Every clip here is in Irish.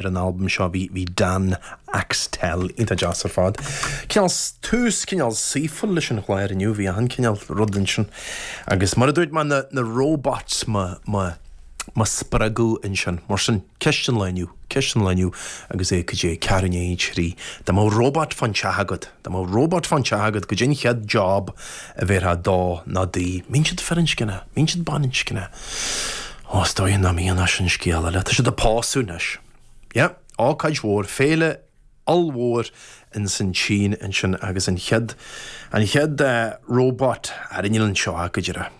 Ar an albam seo bhí bhí Dan Axtell iontach deas ar fad. Cineál tús cineál saoithiúil leis an chlár inniu, bhí achan cineál rud ansin. Agus mar a dúirt mé na na robots mo mo mo spreagadh ansin. Mar sin, ceist an lae inniu, ceist an lae inniu agus é cad é, ceathrú i ndiaidh a 3. Dá mbeadh robot fán teach agat, dá mbeadh robot fán teach agat, goidé an chéad job a bhéarfá dó nó di. Mbíonn siad firinscneach, mbíonn siad baininscneach. Ó, is dóigh nach mbíonn ach sin scéal eile. Tá siad ag pósadh anois. Yeah, ócáid mhór, féile ollmhór ins an tSín ansin agus an chéad, an chéad robot, ara níl anseo ach go díreach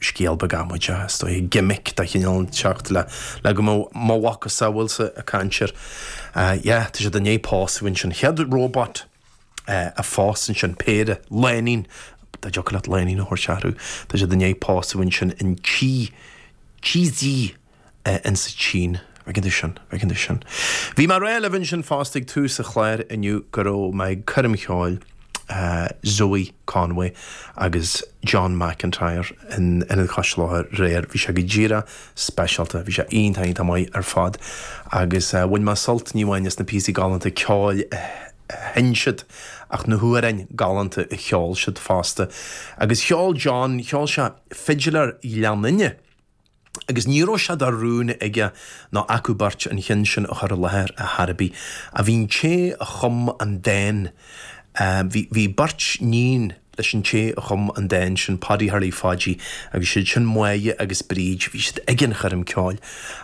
scéal beag amaideach, is dóigh, gimmick de chineál inteacht le, le go mbeadh mo mhacasamhailsa ag caint air. Yeah, tá siad i ndiaidh pósadh ansin. Chéad robot a phós ansin, péire, lánúin, dá dtiocfadh leat lánúin a thabhairt orthu, tá siad i ndiaidh pósadh ansin in Chi, Qizhou insa tSín. Bhfeiceann tú sin, bhfeiceann tú sin. Bhí mé ag rá libh ansin fosta ag tús an chláir inniu go raibh mé ag coirm cheoil Zoe Conway agus John McIntyre in Ionad Chois Locha aréir. Bhí sé go díreach speisialta. Bhí sé iontach, iontach maith ar fad agus bhain mé sult ní amháin as na píosaí galánta ceoil a sheinn siad ach na hamhráin galánta a cheol siad fosta. Agus cheol John, cheol sé Fidiléir Ghleann Fhinne agus ní raibh sé de rún aige ná acu beirt an cheann sin a chur i láthair ar chor ar bith. Ach bhí an té a chum an dán, bhí, bhí beirt níon leis an té a chum an dán sin, Paddy Harley Phaidí, agus siad sin Máire agus Bríd, bhí siad ag an choirm ceoil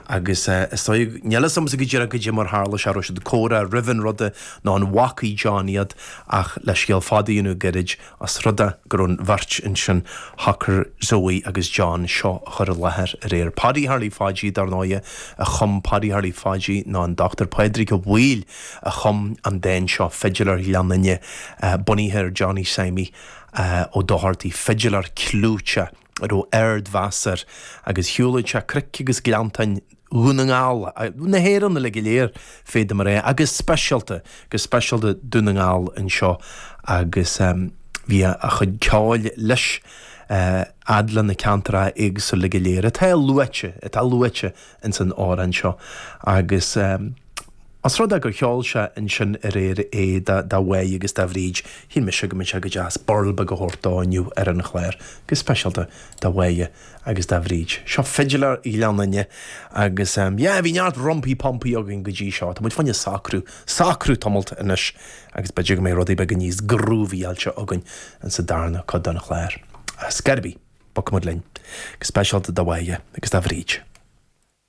agus is dóigh, níl fhios agamsa go díreach goidé mar tharla sé, raibh siad ag comhrá roimh an ruda nó an bhfacaidh John iad ach le scéal fada a dhéanamh gairid, Os rud é go raibh an bheirt ansin, shocair Zoe agus John seo a chur i láthair aréir. Paddy Harley Phaidí, dar ndóighe, a chum Paddy Harley Phaidí ná an Dr Pádraig Ó Baoill a chum an dán seo, Fidiléir Ghleann Fhinne, bunaithe ar Johnny Seimí Ó Dochartaigh, fidiléir clúiteach a raibh ardmheas air agus shiúladh sé cnoic agus gleanntáin Dhún na nGall, na hÉireann uilig go léir, féadaim a rá, agus speisialta, go speisialta Dún na nGall anseo agus bhí a chuid ceoil leis fhad le na ceantracha éagsúla go léir atá luaite, atá luaite ins an amhrán seo agus os rud é gur cheol sé ansin aréir é do Mháire agus do Bhríd, shíl mise go mbeadh sé go deas burl beag a thabhairt dó inniu ar an chlár, go speisialta do Mháire agus do Bhríd. Seo Fidiléir Ghleann Fhinne agus yeah bhí neart rumpaí pumpaí againn go dtí seo, tá muid fá choinne socrú, socrú tamalt anois agus b'fhéidir go mbeidh rudaí beaga níos grúvaíáilte againn insa darna cuid den chlár. Ar scor ar bith, bogfaidh muid linn, go speisialta do Mháire agus do Bhríd.